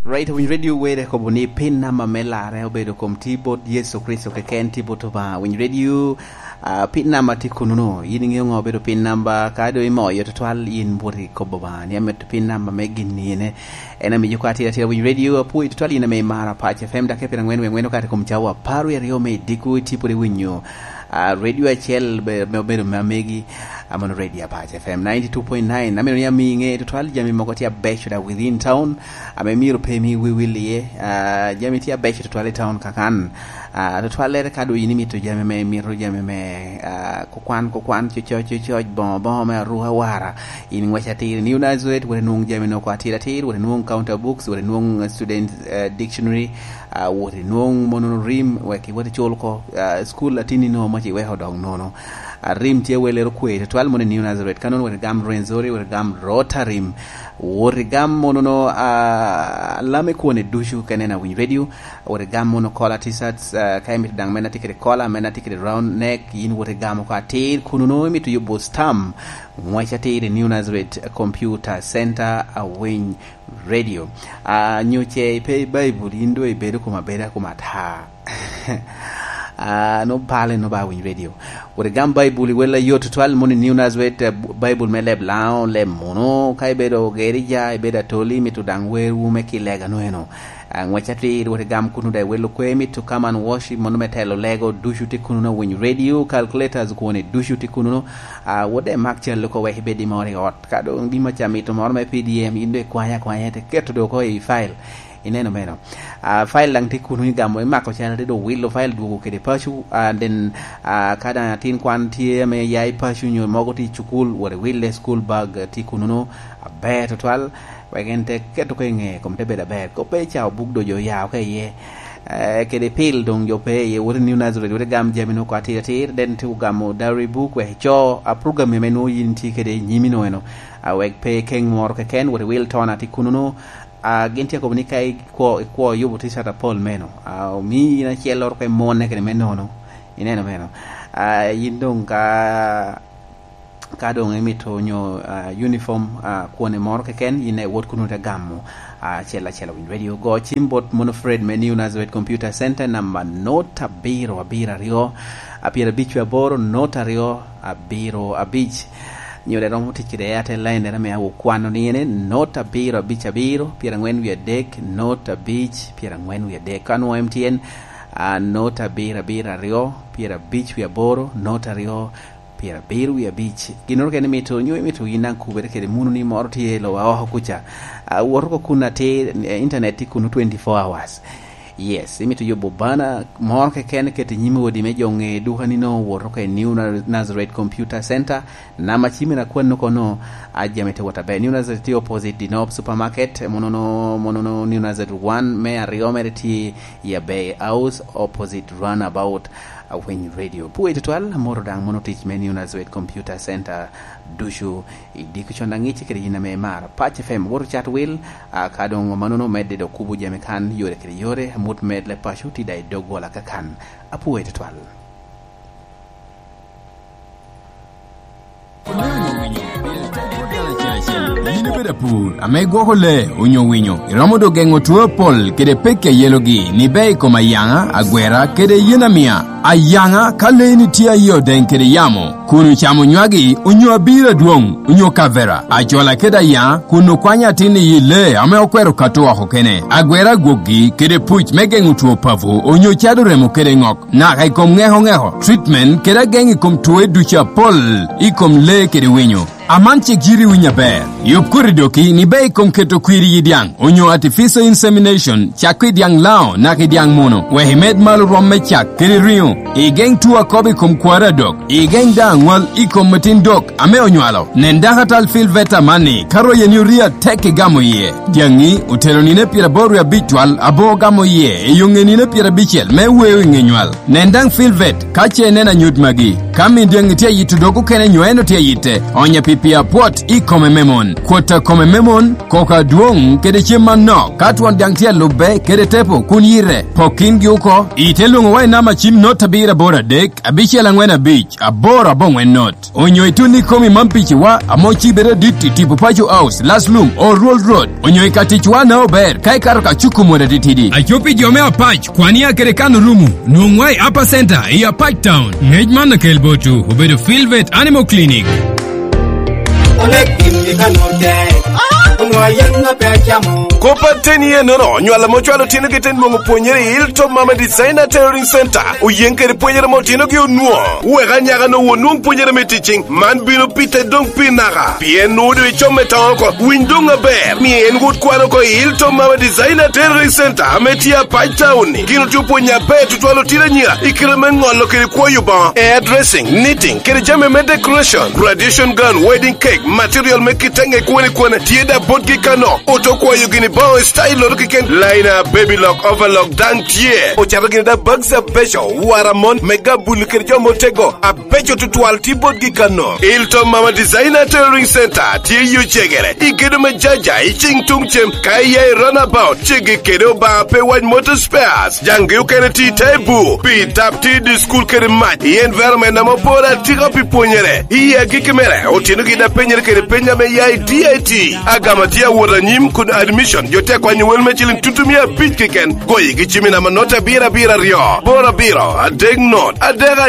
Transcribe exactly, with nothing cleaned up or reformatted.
Right, Winy Radio were kobo ni pin namba me larre obedo kom ti bot Yecu Kricito keken, ti bot Obaŋa. Winy Radio, ah, pin namba ti kununo. Yin iŋeo ŋo obedo pin namba? Ka do imoyo tutwal, yin bwot i kobo Obaŋa ni amito pin namba me gin ni ene. En amiyo kwa tira tira Winy Radio, apwoyi tutwal yin ame imara Pac F M, dok e pira ŋwen wi ŋwen okato i kom cawa apar wi aryo me idiko, iti pwod iwinyo, ah, radio acel be-, me obedo me amegi, amono Radio Apac F M ninety two point nine. Amito ni amiŋe tutwal jami mogo tye abeco da within town, ame myero pe mi wiwil iye. Ah, jami tye abeco tutwal i town kakan. Ah, tutwallere ka do yin imito jami me, imito jami me, ah, kukwan, kukwan, cococ, cococ, bongo, bongo me aruka, wara, in ŋwec atir. New Nazareth, wot inwoŋ jami noko atir atir, wot inwoŋ counter books, wot inwoŋ, eh, student, eh, dictionary, ah, wot inwoŋ mono rim, wek iwot icul oko, ah, school atinni no mac iweko odok nono. Ah, rim tye welero kwe tutwal mono i New Nazareth. Ka nono wot igam Rwenzori, wot igam Rotarim, wot igam mono no, ah, lame kwone ducu kene na Winy Radio, wot igam mono kola T-shirts, ah, ka imito daŋ mena tye kede kola, mena tye kede round neck, yin wot igamo oko atir, kuno no imito yubo stam, ŋwec atir i New Nazareth Computer Center, a Winy Radio. Ah, nyo ce ipe i Baibul, yin do ibedo kom abeda kom ata. Ah, no pale no ba Winy Radio. Wot igam Baibul i wel ayot tutwal mono i New Nazareth, eh, Baibul me leb Laŋo, leb Muno, ka ibedo Gerija, ibedo Atoli, mito daŋ werwu me kilega no eno. Ah, ŋwec atir, wot igam kuno da i wel okwe, mito come and worship, mono me telo lego, ducu tye kuno na Winy Radio, calculators kwone ducu tye kuno no. Ah, wot da imak cal oko wek ibed i moro i ot. Ka doŋ gin maca mito moro me P D M, yin do ikwanya akwanya, te keto do oko i file. Ineno meno. Ah, file daŋ tye kuno igamo, imako cal, te do wilo file dwogo kede paco, ah, and then, ah, ka daŋ atin kwan tye ame ya i paco nyo mogo tye i cukul, wot iwille school bag, eh, tye kuno no, aber tutwal, wek en te keto ko i ŋe, kom te bedo aber. Ko pe ca obuk do jo ya oko iye. Eh, kede pil doŋ jo pe iye, wot i New Nazareth, wot igam jami no oko atir atir, then tye ogamo diary book, wek ico, a program ame nwoŋo yin tye kede i nyimi no eno. Ah, wek pe ikeŋ moro keken, wot iwil tona tye kuno no, ah, gin tye akobo ni ka ikwo, ikwo yubo T-shirt apol meno, ah, omi in acel loro ka imone kede me nono. Ineno meno. Ah, yin doŋ ka, ka doŋ imito nyo, ah, uniform, ah, kwone moro keken, yin iwot kuno te gamo, ah, acel acel Winy Radio. Go cim bot mono Fred me New Nazareth Computer Center, namba not abiro abiro aryo, a pyerabic wie aboro, not aryo, abiro abic. Nyo dek romo tic kede Airtel line, dera me awo kwano ni ene, not abiro abic abiro, pyerangwen wie adek, not abic, pyerangwen wie adek. Ka nwoŋo M T N, ah, not abiro abiro aryo, pyerabic wie aboro, not aryo, pyerabiro wie abic. Ginnoro kene mito, nyo imito yin daŋ kubere kede munu ni moro tye i lowa oko kuca. Ah, wot oko kun atir, eh, internet tye kunu twenty-four hours. Yes, imito yubo bana moro keken ket i nyim odi me jo ŋe duka ni no, wot oko i New Na-, Nazareth Computer Center. Nama cimmi na kwano kono, a jami te wot aber. New Nazareth tye opposite Dinop Supermarket, monono, monono New Nazareth one, me aryo mere tye i Abbey House, opposite roundabout, a Winy Radio. Pwoyo tutwal, amoro daŋ mono tic me New Nazareth Computer Center ducu i diko con aŋic kede yin ame imaro. Pac F M, wot ocat wil, a ka doŋ manono medde dok kubo jami kan, yore kede yore, amut med le paco tye da i dog gola kakan. Apwoyo tutwal. Yin ibedo apur ame gwoko lee onyo winyo, iromo dok geŋo two apol kede pekki a yelogi ni bea i kom ayaŋa, agwera, kede yen amia. Ayaŋa, ka leeni tye aye odeŋ kede yamo, kun ocamo nywagi onyo abiro adwoŋ onyo kavera, acola kede ayaŋa, kun okwanyo atin i yi lee ame okwero kato oko kene, agwera agwokgi kede puc me geŋo two papo onyo cado remo kede ŋok. Naka i kom ŋeko ŋeko, treatment kede ageŋ i kom twoe ducu apol i kom lee kede winyo. Aman cik yiti winyo aber. Yub koti doki ni bea i kom keto kwir i yi dyaŋ, onyo artificial insemination, cakko i dyaŋ Laŋo naka i dyaŋ Muno, wek imed malo rwom me cak kede riŋo. Igeŋ two akobo i kom kwaro adok. Igeŋ daŋ aŋwal i kom atin dok ame onywalo. Nen dakatal Phil Veta amanni, ka royeni orii atek igamo iye. Dyaŋi otero nino pyeraboro wie abic twal aboŋo gamo iye i yo ŋe nino pyerabicel me weo i ŋe nywal. Nen daŋ Phil Vet ka ce ineno anyut magi. Ka min dyaŋi tye ayito dog okene nyo en otye ayitte, onya pi pii apwot i kome me mon. Kwot a kome me mon, koko adwoŋ kede cem manok, ka twon daŋ tye alubbe kede tepo kun yite, pok kingi oko. Ite lwoŋo wa i namba cim not abiro aboro adek, abicel aŋwen abic, aboro aboŋwen not. Onyo itun i komi man piciwa, ame ocibe adit i tipo Paco House, Last Lum, Old Road, onyo i ka ticwa na ober, ka ikato ka cuku mot atitidi. Aco pi jo me Apac, kwania kede kan orumo, nwoŋwa i Upper Center, i Apac Town. Ngec man okel botwu, obedo Filvet Animal Clinic. Onek gin i kano tek, onwa yen na pe acamo. Kop ateni enono, nywal ame ocwalo otinogi te nwoŋo pwonyere i Hilltop Mama Designer Tailoring Center, oyen kede pwonyere ame otinogi onwoŋo. Wek anyaka-nu onwoŋ pwonyere me ticing, man bino pite doŋ pi naka, pien nwoŋo doŋ icom me toŋo oko. Winy doŋ aber, mi en wot kwan oko i Hilltop Mama Designer Tailoring Center ame tye Apac Town-ni. Gin otye opwonyo aber tutwal otino anyira i kite me ŋolo kede kwoyo boŋo, hairdressing, knitting, kede jami me decoration, graduation gown, wedding cake, material me kite ŋe kwone kwone, tye da botgi kano. Oto kwayo gini boŋo i style-loto keken, liner, baby lock, overlock daŋ tye. Ocato gini da bags abeco, wara mon, me gabul kede jo motego, abeco tutwal tye botgi kano. Hilltop Mama Designer Tailoring Center tye i Ocegere, i gedo me Jaja, i cing tuŋ cem, ka iya i runabout, ceggi kede Obaŋa pe wac Motor Spares. Jaŋgi okene tye i te bur, pi tap tye i dye cukul kede mac, i environment ame oporo atika pi pwonyere. I agikki mere, otinogi daŋ penyere kede peny ame ya i D I T. Agama tye awot anyim kun admission, jo tye akwanyo wel me ciliŋ tutumia abic keken. Goyigi cim i namba not abiro abiro aryo, boro abiro, adek not, adek